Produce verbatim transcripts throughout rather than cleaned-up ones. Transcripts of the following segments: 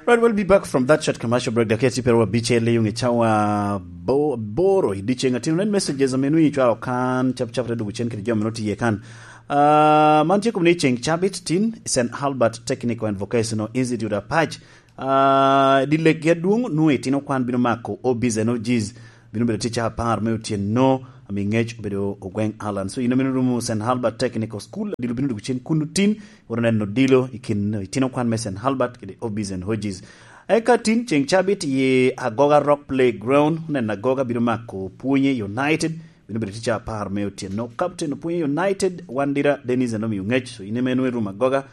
Right, we'll be back from that short commercial break. Dakika tye pyeraryo abicel i ŋe cawa bo-, aboro i dyeceŋ atino. Nen messages ame nwoŋo icwalo kan, cap cap te dwogo cen kede jo ame nwoŋo tye iye kan. Ah, man tye kome ni ceŋ cabit tin, Saint Albert Technical and Vocational Institute Apac. Ah, dye lekgi adwoŋ, nwoŋo itino kwan bino mako O Bs and O Gs. Bino bedo tic apar me otyeno, ami ŋec obedo Ogweng Allan. So, in amito rumo Saint Albert Technical School, adilo bino dwogo cen kuno tin, wot neno odilo i kin itino kwan me Saint Albert kede O Bs and O Gs. Eka tin ceŋ cabit i Agoga Rock Playground, neno Agoga bino mako Pwonye United, bino bedo tic apar me otyeno. Captain Pwonye United, Wandira Dennis Anomi Ongec. So, in ame nwoŋo irumo Agoga,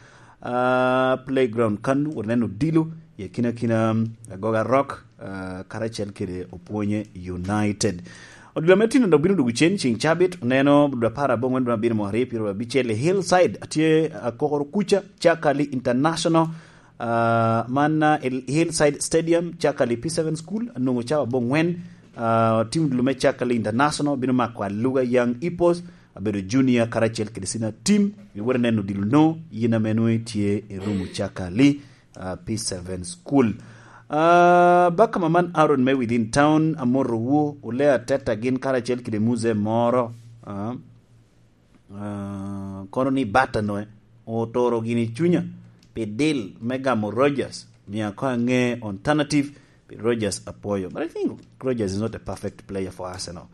ah, Playground kan, wot neno odilo i akinakina, um, Agoga Rock, ah, karacel kede Opwonye United. Odilo me tino dok bino dwogo cen ceŋ cabit, oneno dwe apar aboŋwen, dwe abiro mo aryo, pyeraryo abicel i Hillside, atye akokoro kuca, Chakali International, ah, man, ah, i Hillside Stadium, Chakali P seven School, anwoŋo cawa aboŋwen, ah, tim odilo me Chakali International, bino mako Aluga Young Hippos, abedo junior karacel kede senior team, iwot ineno odilo no, yin ame nwoŋo itye i rumo Chakali, ah, P seven School. Ah, baka maman Aaron me Within Town, amotowu, Ulea Teta gin karacel kede Muze moro, ah, ah, kono ni bata no, eh, otoro gini cunya, pi dil me gamo Rogers, mia ko ange alternative, pi Rogers apwoyo. But I think Rogers is not a perfect player for Arsenal.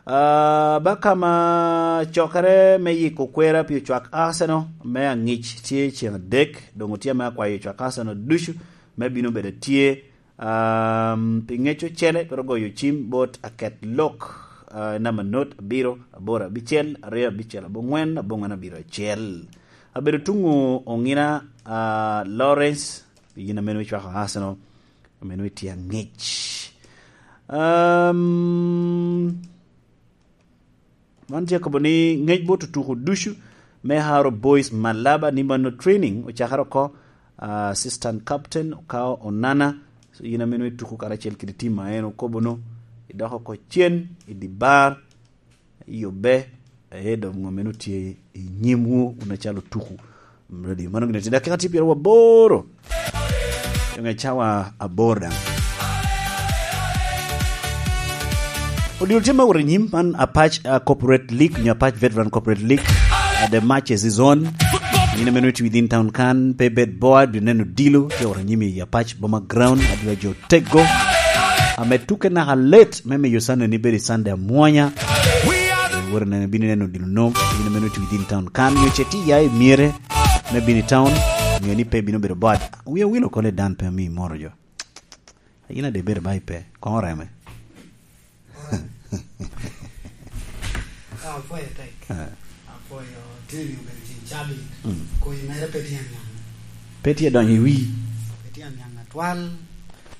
Ah, baka ma cokere me yiko kwera pi ocwak Arsenal me aŋic tye ceŋ adek, doŋ otye ame akwayo ocwak Arsenal ducu me bino bedo tye, um, pi ŋec ocele, twero goyo cim bot aket lok, ah, namba not abiro, aboro abicel, aryo abicel, aboŋwen, aboŋwen abiro acel. Abedo tuŋo oŋina, ah, Lawrence, yin ame nwoŋo icwako Arsenal, ame nwoŋo itye aŋic. Um, man tye akobo ni ŋec bot otuko ducu me Haro Boys Malaba ni mano training ocakere oko, ah, assistant captain okao Onana. So, yin ame nwoŋo ituko karacel kede tim a en okobo no, idoko oko cen, i di bar, i obe, aye dok ŋo meno tye i nyimwu, wun acalo tuku. Ready. Mano gin tye dakika tye pyeraryo aboro. Doŋ i cawa aboro daŋ. Odilo tye ma wot i nyim man Apac, uh, Corporate League, nyo Apac Veteran Corporate League. Uh, the matches is on. Yin ame nwoŋo itye within town kan, pe bed bored, bi neno odilo, tye wot i nyim i Apac Boma Ground, adwa jo tego. Ame tuke naka let, me miyo Sunday ni bedo i Sunday amwonya. Wot neno, bino neno odilo nom, bino meno tye within town. Kan nyo ce tye ya i myere me bino i town, nyo ni pe bino bedo bored. Wi awilo kone dan pe ami moro jo. Yin ade bedo ba ipe, koŋ oreme. Ah, apwoyo tek. Ah. Apwoyo, tini obedo cen cabit. Mm. Koyi mere pe tye aniaŋ. Pe tye donyo i wi. Pe tye aniaŋ atwal.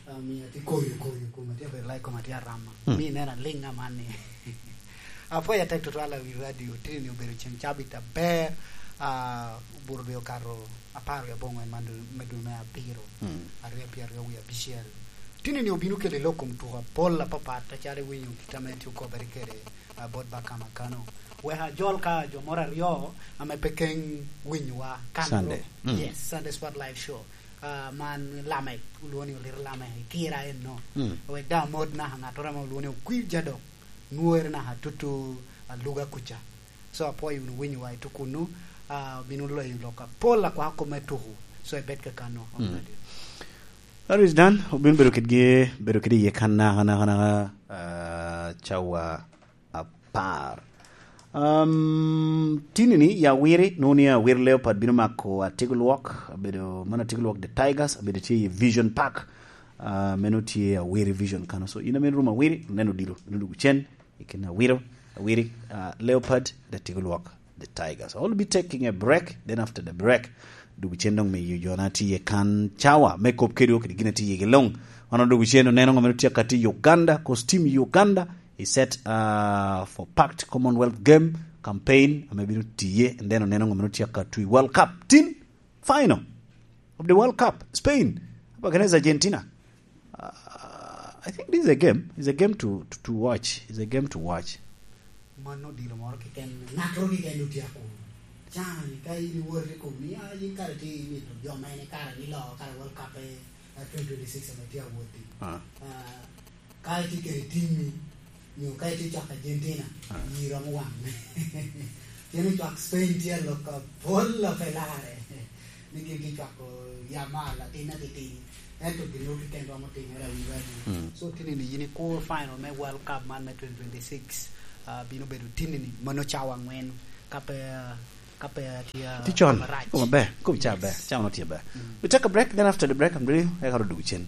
Ah, mi atye koyo, koyo, koma tye bedo like, koma tye arama. Mm. Mi neno aliŋ aman ni. Apwoyo atek tutwal awi radio, tini obedo cen cabit aber, ah, obuto dwe okato apar wiye aboŋwen man dwe, me dwe me abiro, mm, aryo pyeraryo wie abicel. Tini ni obino kede lok kom tuko apol apapat, acalo iwinyo kit ame tye okobere kede, ah, bot Bakama Kano. Wek ajol ka jo moro aryo ame pe keŋ winyowa kan Sunday. Mm. Yes, Sunday Spot Live Show. Ah, man Lamek, olwongo ni Olito Lamek, i kira enno. Mm. Wek daŋ amot naka ŋattoro ame olwongo ni Okwir Jadok, nwore naka tutu Aluga kuca. So, apwoyo wunu winyowa i tukunnu, ah, bino leyo lok apol akwako kop me tuku. So, ibed kakano. Mm. That is done. Obino bedo kedgi, bedo kede iye kan naka, naka, naka, ah, cawa apar. Um, tini ni, ya wiri, nwoŋo ni Awiri Leopard bino mako Atigo Lwok, abedo, mano Atigo Lwok the Tigers, abedo tye i Vision Park. Ah, meno tye Awiri Vision Kano. So, in ame room Awiri, neno dilo, neno dwogo cen, i kin Awiro, Awiri, ah, Leopard, the Tigolwok, the Tigers. I'll be taking a break, then after the break, dwogo cen doŋ miyo jona tye kan cawa me kop kedwa kede gin a tye iye gi loŋ. Wan odwogo cen oneno ŋo meno tye ka tye i Uganda, 'cause team Uganda is set, ah, for Pact Commonwealth Game campaign, ame bino tiye, and then oneno ŋo meno tye ka twi World Cup. Tin, final of the World Cup, Spain up against Argentina. Uh, I think this is a game. It's a game to, to, to watch. It's a game to watch. Mano dilo moro keken, ŋattoro keken otyeko. Can, ka in iwot i kom ni, ah, yin kare tye imito jo mene kare ni loo, kare World Cup e, twenty twenty-six ame tye awot-ti. Ah. Ah, ka itye kede timmi, nyo ka itye cwako Argentina, ah, yi romo waŋ. Cen ocwak Spain tye alok apol a pe larre. Ni gin tye cwako Yamal atin atitidi. Ento gin mogo keken romo timere awiwa ni. Mm. So, tini-ni yin ikur final me World Cup man me twenty twenty-six, ah, bino bedo tini-ni, mano cawa angwen, ka pe, ah, ka pe atye, ah, Tye con. Marac. Koma ber. Koma ca ber. Yes. Cawa no tye ber. Mm. We take a break, then after the break, I'm ready. Eka ro dwogo cen.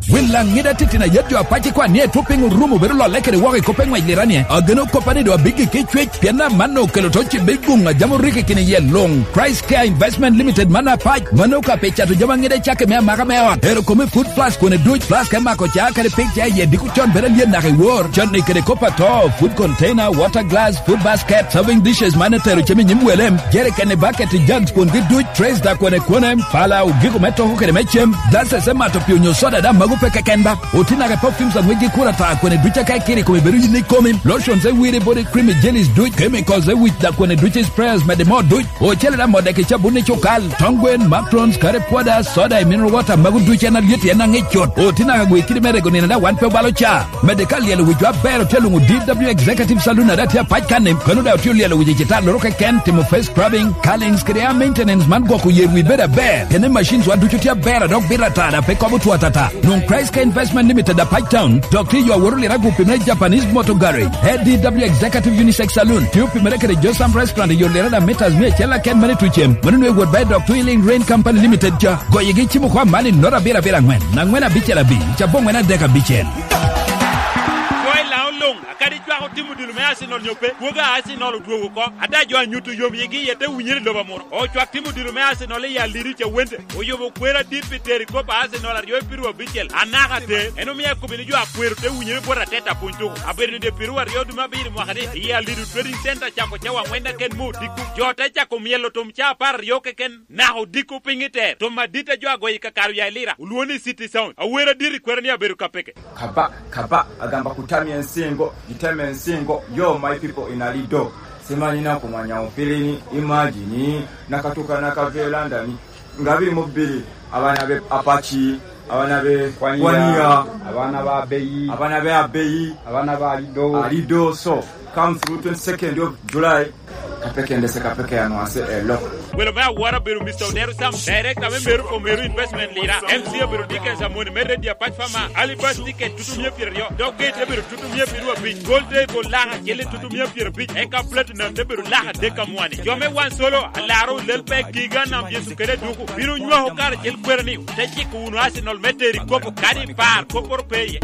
Wil aŋida titino ayet jo apac ikwan ni etwo piny orumo bedo lolle kede woko i kop eŋwec lira ni, ageno koppa ni do abiggi ki cwec, pien amanno okelo to cibe i guŋ a jam orikki kine iye luŋ. Christ Care Investment Limited man apac, mano ka pe cato jami aŋida i cakke me amaka me ot. Ero kome food plus kwone duc, plus ka imako ca kede pig ca iye diko con bedo alyen naka i wor. Con ni kede kop ato, food container, water glass, food basket, serving dishes man etero cem i nyim welem, jerikeni, baketi, jugs kwongi duc, trays da kwone kwone, pala, ogiko me toko kede me cem, glasses me mato pii onyo soda da mago pe keken ba. Oti naka perfumes aŋwec gi kura ta kwene duc aka ikiri kome bedo yin ikomi, lotions e wiri body cream e jellies duc, chemicals e wic da kwene duc sprayers mede mo duc, ocele da mo dek i cabun i cukal, tong gwen, macarons, curry powder, soda e mineral water mago duc en alyet en aŋic cut. Oti naka gwe kidi me rego nino da wan pe obalo ca. Medde ka lyelo wicwa aber otye luŋo D W Executive Saloon ada tye apac kan-ni, kano daŋ otye olyelo wic i citalloro keken, timo face scrubbing, curlings kede hair maintenance man gwoko yer wi bedo aber. Pien i machines wa ducu tye aber a dok bito ata daŋ pe kobo two atata. Nwoŋ Christ Care Investment Limited apac town, dok tye yo aworo lira gupi me Japanese Motor Garage. A D W Executive Unisex Saloon, tye opimere kede Josam Restaurant i yo lira daŋ meters mia acel aken mene tucem. Mano nwe wot ba i dok Twilling Rain Company Limited ca. Goyegi cimo kwa mali nota abiro abiro aŋwen, aŋwen abicel abicel, cabongwen adek abicel. Kwo i Laŋo luŋ, akadi cwak otimo dilo me Arsenal nyo pe, kwogo a Arsenal odwogo oko. Ada jo a nyuto yom yigi iye te winyere i lobo amuro. Ocwak timo dilo me Arsenal i Alidu Cawente, oyobo kwer adit pi tero i kop a Arsenal aryo i piru abicel, anaka ater. En omio akobo ni jo a kwero te winyere bot Arteta pwony tuko. Abedo ni dye piru aryo dwe me abiro mwaka ni, i Alidu Trading Center cako cawa aŋwen aken me odiko. Jo te cako myelo tum ca apar aryo keken. Naka odiko piny i ter, tom adit a jo agoyo i kakare oya i Lira, olwoŋo ni City Sound. Awer adit i kwero ni abedo ka peke. Kaba, kaba, agamba kutami ensingo, giteme ensingo, yo my people in Alido. Simanyi na kumanya ufilini, imagine, nakatuka nakavyo landani. Ngabiri mubiri, abana be Apache, abana be Kwania, Kwania, abana ba Abeyi, abana be Abeyi, abana ba Alido. Alido, so, come through twenty-second of July. Kapeke ndese kapeke anwase elok. Welo me awora obedo Mister Odero Sam, director me Meru for Meru Investment Lira. M C obedo Dickens Amoni me Radio Apac Farmer. Alibas ticket tutumia pyeraryo. Dog gate obedo tutumia pyeraryo abic. Gold Day bol laka kele tutumia pyerabic. Eka Platinum te bedo laka dek amwani. Jo me wan solo, alaro lel pe kiga nam Yesu kede duku. Bino nywako kare cel kwera ni, te ciko wunu Arsenal me teri kopo kadi par, koporo pe iye.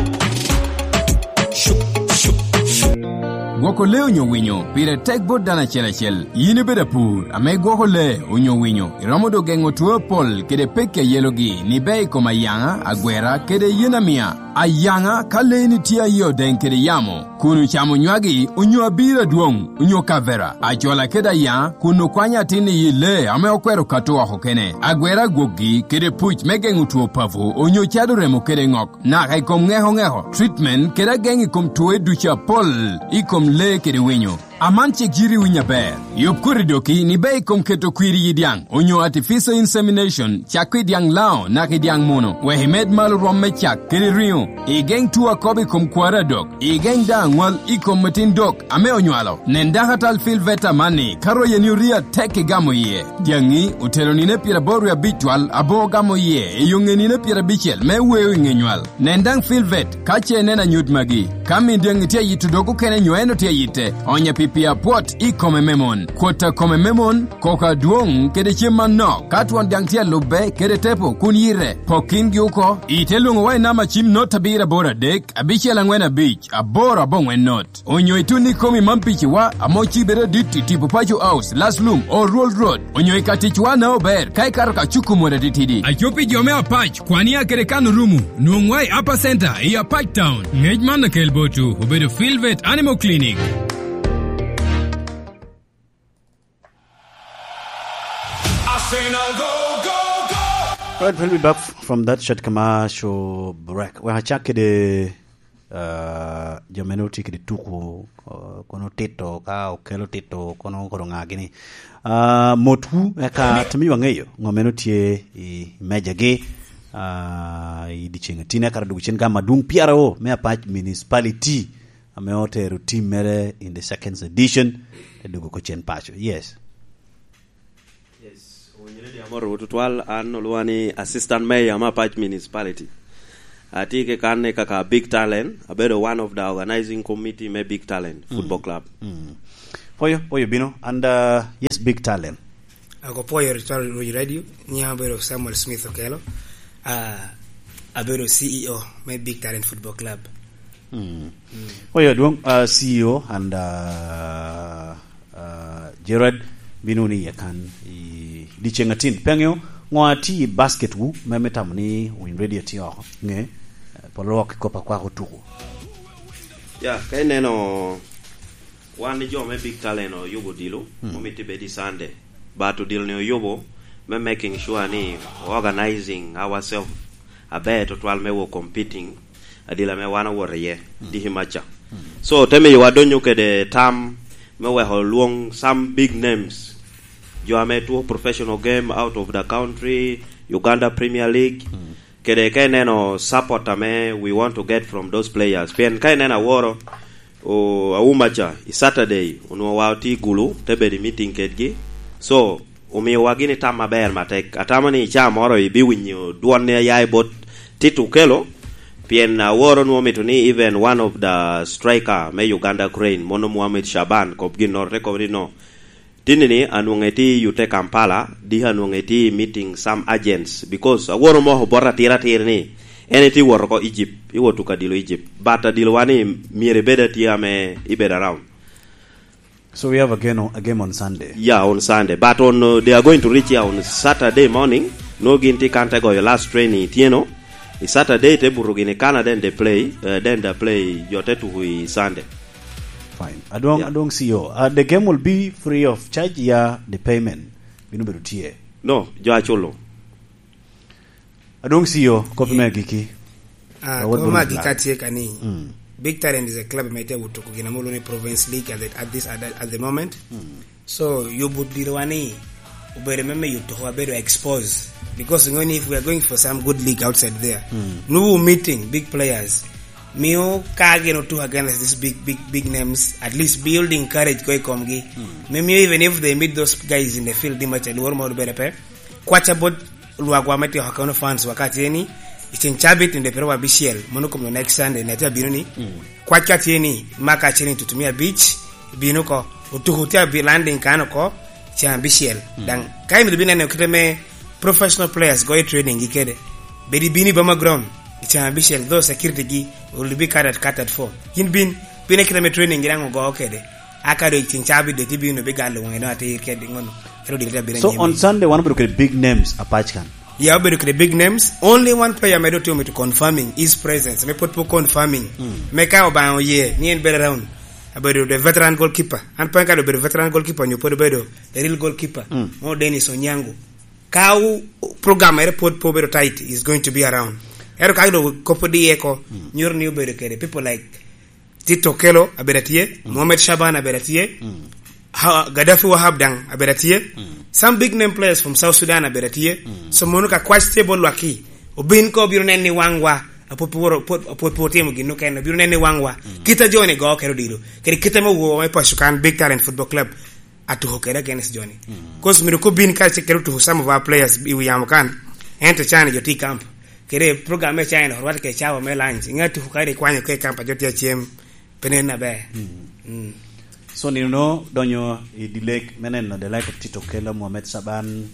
Gwoko lee onyo winyo pire tek bot dano acel acel. Yin ibedo apur ame gwoko lee onyo winyo, iromo dok geŋo two apol kede pekki a yelogi ni ber i kom ayaŋa, agwera, kede yen amia. Ayaŋa, ka leeni tye aye odeŋ kede yamo, kun ocamo nywagi, onyo abiro adwoŋ, onyo kavera, acola kede ayaŋa, kun okwanyo atin i yi lee ame okwero kato oko kene, agwera gwokgi, kede puc me geŋo two papo, onyo cado remo kede ŋok. Naka i kom ŋeko ŋeko, treatment, kede ageŋ i kom two ducu apol i kom lee kede winyo. Aman cik yiti winyo aber. Yub koti doki ni ber i kom keto kwir i yi dyaŋ, onyo artificial insemination, cak i dyaŋ Laŋo naka i dyaŋ muno, wek imed malo rwom me cak kede riŋo. Igeŋ two akobo i kom kwaro adok. Igeŋ daŋ aŋwal i kom atin dok ame onywalo. Nen dakatal Phil Veta amanni, ka royeni orii atek igamo iye. Dyaŋi otelo nino pyeraboro wie abic twal aboŋo gamo iye i yoŋe nino pyerabicel me weo i ŋe nywal. Nen daŋ Phil Vet ka ce ineno anyut magi. Ka min dyaŋi tye ayito dog okene nyo en otye ayitte, onye pi pii apwot i kome me mon. Kwot a kome me mon, koko adwoŋ kede cem manok, ka twon dyaŋ tye alubbe kede tepo kun yite, pok kingi oko. Ite lwoŋowa i namba cim not abiro aboro adek, abicel aŋwen abic, aboro aboŋwen not. Onyo itun ikomi man piciwa, ame ocibe adit i tipo Paco House, Laslum, Old Road, onyo i ka ticwa na ober, ka ikato ka cuku mot atitidi. Aco pi jo me Apac, Kwania kede Kano Rumu, nwoŋwa i Upper Center i Apac Town. Ngec man akel botwu, obedo Philvet Animal Clinic. Arsenal, go, go, go! All right, we'll be back from that short commercial break. Wek acak kede Ah, jo mene otye kede tuku, ah, kono tito, ka okelo tito, kono koro ŋa gini. Ah, motwu, eka timi wa ŋeyo ŋo mene otye i mejagi, ah, i dyeceŋ atini, eka dwogo cen gam adwoŋ P R O me Apac Municipality, ame otero tim mere in the second edition, te dwogo ko cen paco. Yes. Yes, owinyo ni di amoro tutwal, an olwoŋa ni Assistant Mayor me Apac Municipality. Atye ke kan ni kaka Big Talent, abedo one of the organizing committee me Big Talent Football Club. Mm. Poyo, poyo bino, and, uh, yes, Big Talent. Ako poyo Rotary Road Radio, nyinga obedo Samuel Smith Okelo. Ah, abedo C E O me Big Talent Football Club. Mm. Mm. Oyo adwoŋ, uh, C E O and, uh, uh, Gerard bino ni iye kan i dyeceŋ atin. Pe aŋeo ŋo atye i basket wu, me, me tamo ni Winy Radio tye oko. Ŋe, eh, polo wok i kop akwako tuku. Ya, ka ineno wan jo me Big Talent oyubo odilo, mm, omito bed i Sunday. But odilo ni oyubo me making sure ni organizing ourselves aber tutwal me wo competing adila ame wan owoto iye, mm, diki maca. Mm. So, te miyowa donyo kede tam me weko lwong some big names. Jo ame two professional game out of the country, Uganda Premier League. Mm. Kede ka ineno support ame we want to get from those players. Pien ka ineno aworo, o, Auma ca, i Saturday, onwoŋo wa otye i Gulu, te bedo i meeting kedgi. So, omiowa gini tam aber matek. Atamo ni i caa moro ibiwinyo dwon ni aya i bot Tito Okello, pien aworo nwoŋo mito ni even one of the striker me Uganda Crane, mono Mohamed Shaban, kop ginnoro, te kobo ni no. Tinni ni anwoŋo etye i yute Kampala, diki anwoŋo etye i meeting some agents, because aworo moko bot atir atir ni en etye wot oko Egypt, iwot tuko adilo Egypt. But adilo wa ni myero ibed atye ame ibed around. So we have a game, a game on Sunday. Yeah, on Sunday. But on, uh, they are going to reach here on Saturday morning. No gin tye kan te goyo last training ityeno. I Saturday te buto gini Canada, then they play, uh, then they play jo te tuku i Sunday. Fine. Adwong, yeah, adwong C E O. Uh, the game will be free of charge, ya the payment bino bedo tye? No, jo aculo. Adwong C E O, kop me agiki. Ah, kop me agiki atye ka ni, mm, Big Talent is a club me tye wutuku gin ame olwongo ni Province League at the, at this, at the, at the moment. Mm. So, yubo diro wa ni obedo me miyo tuko abedo expose. Because you know, if we are going for some good league outside there, mm, no meeting big players. Mio ka gin otuko against these big, big, big names, at least building courage ko i komgi. Mm. Me mio even if they meet those guys in the field, di maca luoro moro bedo pe. Kwaca bot lwagwa me tiko kono fans wa ka tye ni, i ceng cabit ni de pero wa bicel, mono kom next Sunday, ne atye abino ni, mm, kwac ka tye ni, maka ceni tutumia beach, bino ko, otuko tye abi landing kan oko, ceng abicel. Mm. Daŋ, ka imito bino neno kite me professional players goyo training gi kede, bedi bini boma ground, i ceng abicel, though security gi will be catered, catered for. Yin bin, bine kite me training gi daŋ ogo kede. Aka do i ceng cabit de tye bino bigalo wonge no atir kede ŋono. Ero diri abira. So, on Sunday, wan obedo kede big names apac kan. Ya, obedo kede big names. Only one player medo timo to confirming his presence. Me pwod po confirming. Mm. Me ka Obaŋa oye, ni en bedo around. Abedo the veteran goalkeeper. An pe ka do bedo veteran goalkeeper, nyo pwod obedo the real goalkeeper. Mm. Mo Dennis Onyango. Ka u-, program ere pwod po bedo tight, is going to be around. Ero ka do kopo di eko, mm, nyoro ni obedo kede people like Tito Okello abedo atye, mm, Mohamed Shaban abedo atye, mm, ha-, Gaddafi Wahab daŋ abedo atye. Mm. Some big name players from South Sudan abedo atye. Mm. So mono ka kwac tye bot lwakki, obin ko obino neno i waŋwa, apwod pwod, apwod, apwod pwod otimo gin okene, obino neno i waŋwa. Mm. Kit a joni go kede odilo, kede kit ame owo me paco kan, Big Talent Football Club, atuko kede against joni. Mm. 'Cause myero kobin ka ce kede otuko some of our players i wi yamo kan, ento cani jo tye i camp. Kede program me China, orwatte kede cawa me lunch. Ŋa tuko ka rik kwanyo ke kampa jo tye acem, pe nen aber. Mm. Mm. So, nino no donyo i dilek me neno the like of Tito Okello, Mohamed Shaban,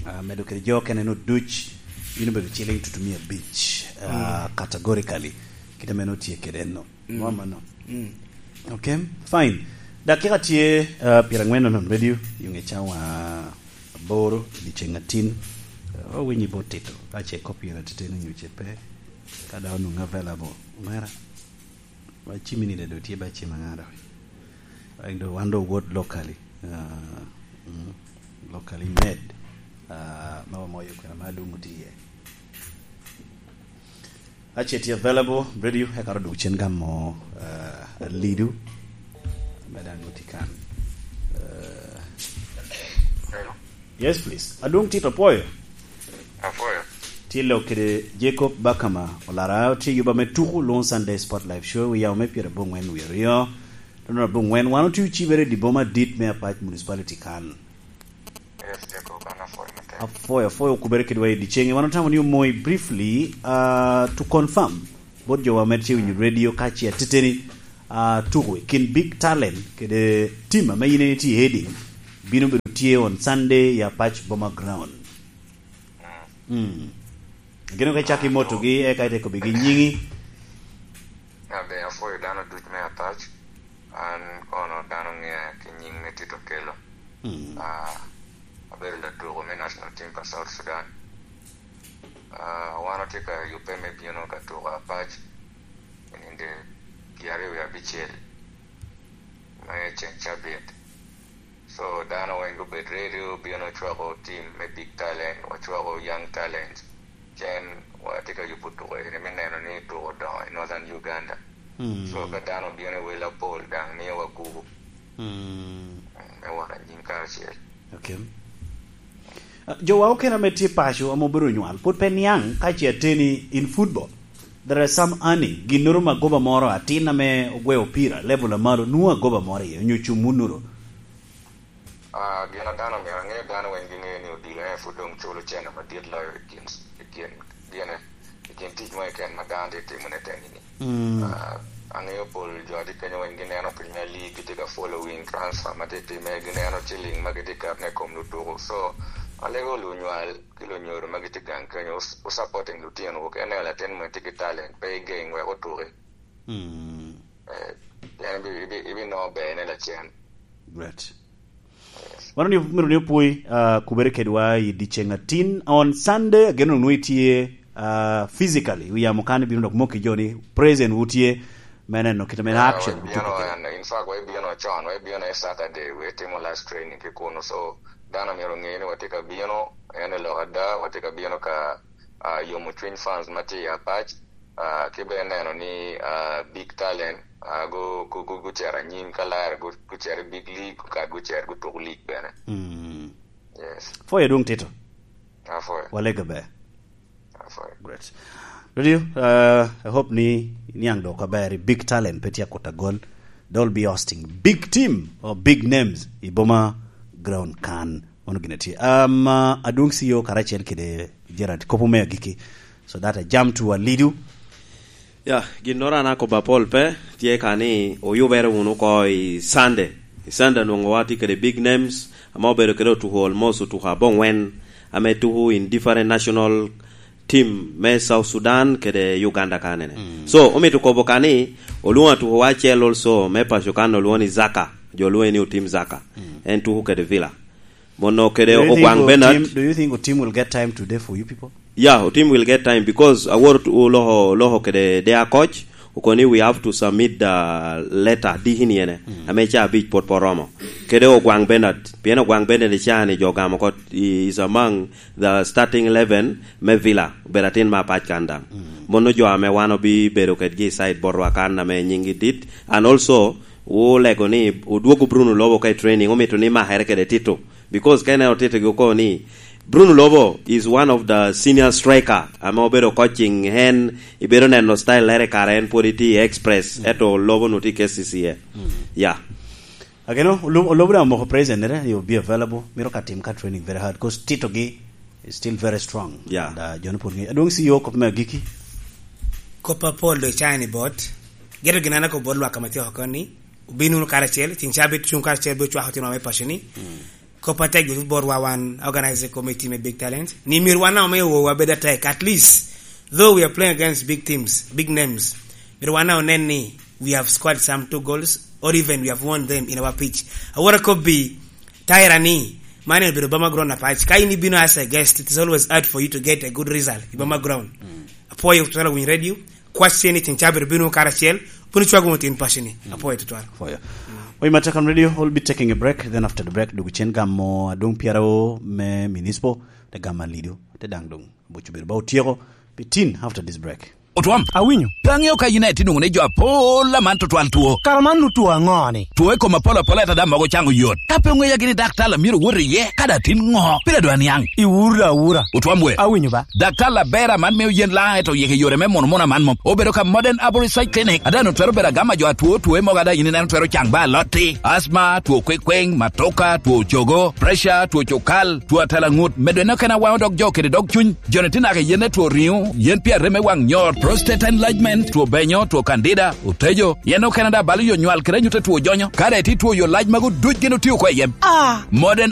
ah, medo kede jo kene no duc, bino bedo ciling tutumia abic, ah, mm, categorically. Kite mene otye kede en no. Mm. Mo amano. Mm. Okay, fine. Dakika tye, ah, pyerangwen nono radio, yung i cawa aboro, i dyeceŋ atin. Ah, owinyo bot Tito, ka ce copyright titino nyo ce pe. Ka daŋ onwoŋo available, omera. Ba cimmi ni dado tye ba cim aŋa dok. Like do wan do wot locally. Ah, mm, locally made. Ah, ma wamoyo kwena ma adwoŋ otye iye. Ace tye available radio, eka odwogo cen gamo, eh, Alidu. Medan nuti kan. Eh, yes, please. Adwong Tito, apwoyo. Apwoyo. Tye lok kede Jacob Bakama Olara, tye yuba me tuku, lwongo Sunday Sport Live Show, wi yamo me pyerabongwen wie aryo. Nonobongwen, wan otye ocibere i dye boma dit me Apac Municipality kan. Yes, Jacob, an apwoyo matek. Apwoyo, apwoyo okubere kedwa i dyeceŋŋe. Wan otamo ni omoyi briefly, uh, to confirm, bot jo wa med ce winyo radio ka ce ateteni, uh, tuko i kin Big Talent kede team ame yin en itye i heading, bino bedo tye on Sunday i Apac Boma Ground. Mm. Gino ka icak i motogi, eka ite kobigi nyiŋi. Abe, apwoyo dano duc me Apac. An kono dano ŋea ki nyiŋ me Tito Okello. Mm. Ah, abedo latuko me national team pa South Sudan. Ah, wan otye ka yubbe me bino ka tuko Apac i nino pyeraryo wie abicel me ceng cabit. So, dano weng gubed ready, obino cwako team me Big Talent, wacwako Young Talent. Cen watye ka yubo tuko eni me neno ni tuko odongo i Northern Uganda. Mm. So, ka dano obino i wel apol, daŋ miyo wagubo. Mm. Mm, me wot anyim karacel. Okay. Ah, jowa okene ame tye paco ame obedo onywal, pwod pe niaŋ ka ce ateni in football. There are some earning, ginnoro magoba moro, atin ame ogweo opira, level amalo, nwoŋo agoba moro iye, onyo cum wunnoro. Ah, gin a dano myero aŋe, dano weng giŋeo ni odilo en pwod doŋ culo cene madit loyo i kin, i kin, gine, i kin tic mo keken ma dano tye timo ne teni-ni. Mm. Ah, aŋeo pol jo a tye kenyo weng gineno Premier League, gitye ka following transfer ma tye timme, gineno ciling ma gitye keto ne i kom lutuko. So, alego lunywal ki lunyodo ma gitye gang kenyo, o, o supporting lutino, wok en eno latin mo tye ki talent, pe igeng wek otuki. Mm. Eh, pien ibi-, ibi-, ibinongo berne lacen. Great. Mano ni, mano ni opwoi, ah, kubere kedwa i dyeceŋ atin. On Sunday, ageno nwoŋo itye, ah, physically. Wi yamo kan ibino dok moko ki jo ni present wu tye me neno kit ame action. Wabino en, in fact, wabino con, wabino en Saturday, we timo last training ki kuno. So, dano myero oŋe ni watye ka bino, en i lok ada, watye ka bino ka, ah, yomo cwiny fans ma tye i Apac. Ah, ki bene neno ni, ah, Big Talent, ah, gu-, gu-, gu-, gucito anyim ka lare, gu-, gucito i Big League, ka gucito gutuko league bene. Mm. Yes. Foyo dwong Tito. Afoyo. Walega ber. Afoyo. Great. Radio, uh, I hope ni niaŋ dok aber i Big Talent pe tye akut agol. They'll be hosting big team or big names i Boma Ground kan. Mano gin a tye. Um, uh, Adwong C E O karacel kede Gerard, kopo me agikki. So that I jump to Alidu. Ya, ginnoro an akobo apol pe, tye ka ni oyubere wunu oko i Sunday. I Sunday nwoŋo watye kede big names, ame obedo kede otuko almost otuko abongwen, ame tuko in different national team me South Sudan kede Uganda kanene. Mm. So, omito kobo ka ni, olwoŋo atukowa acel also, me paco kan olwoŋo ni Zaka, jo lwoŋe ni Otim Zaka. Mm. En tuko kede Villa. Mono kede Ogwaŋ Bernard. Do you think Otim will get time today for you people? Yeah, Otim will get time because awor tu-, oloko, oloko kede de akoc, okoni we have to submit the letter, dikini ene, mm, ame ca abic pwod pe oromo. Kede Ogwaŋ Bernard, pien Ogwaŋ Bernard i ca ni jo gamo kot, he is among the starting eleven me Villa, obedo atin me Apac kan daŋ. Mm. Mono jo ame wan obi bedo kedgi i side botwa kan ame nyinggi dit, and also, olego ni odwogo Bruno Lobo ka i training, omito ni makere kede Tito. Because ka ineno Tito gi oko ni, Bruno Lobo is one of the senior striker, ame obedo coaching en, ibedo neno style lere kare en pwod itye i Express, mm, eto Lobo nu tye i K C C A. Mm. Yeah. Ageno, Olo-, Olobo daŋ omoko present nere, you'll be available. Mito ka tim ka training very hard, 'cause Tito gi is still very strong. Yeah. And, uh, jo ni pwod ngi-, Adwong C E O, kop me agikki. Kop apol do chai ni bot. Geto gin an akobo bot lwak ame tye oko ni, obin wunu karacel, ceng ca abit cuŋ karacel, bino cwako tino me paco ni. Mm. Kop atek botwa wan organizing committee me Big Talent. Ni myero wan ame owowa bed atek, at least, though we are playing against big teams, big names, myero wan onen ni we have scored some two goals, or even we have won them in our pitch. Awor akobbi, Tyra ni, man en obedo Boma Ground Apac. Ka in ibino as a guest, it is always hard for you to get a good result i Boma Ground. Mm. Apwoyo twero winy radio. Kwac cen i ceng ca bino bino karacel, bino cwago wunu tin paco ni. Mm. Apwoyo tutwal. Apwoyo. Mm. Oyi Matakan Radio, we'll be taking a break, then after the break, dugu cen gamo Adwong Piero me Municipal, te gamo Alidu, te daŋ dong. Bucu bedo ba otyeko, be tin after this break. Otwom. Awinyo. Pe aŋeo ka yin aye tye nwoŋo ni jo apol aman tutwal two. Kara man nu two aŋo ni? Two i kom apol apol ata daŋ mogo caŋ oyot. Ka pe oŋeya gini dak tal a myero owot iye, ka daŋ tin ŋo? Pire dwa niaŋ. Iwuro da awura. Otwom we. Awinyo ba. Dak tal aber aman mio yen laŋ eto yeke yore me mono mono aman mom. Obedo ka Modern Arborist Side Clinic. Ada nu twero bedo agama jo atwo two mogo ada yin ineno twero caŋ ba alotti. Asma, two kwekweŋ, matoka, two cogo, pressure, two cukal, two atela ŋut. Medo eno kena waŋo dog jo kede dog cuny. Joni tye naka yen etwo riŋo, yen pi areme waŋ nyor, prostate enlargement, two benyo, two candida, otejo, yen okene da balo yo nywal kede anyut etwo jonyo. Kare ti two yo lac mago duc gin otio ko i yem. Ah. Modern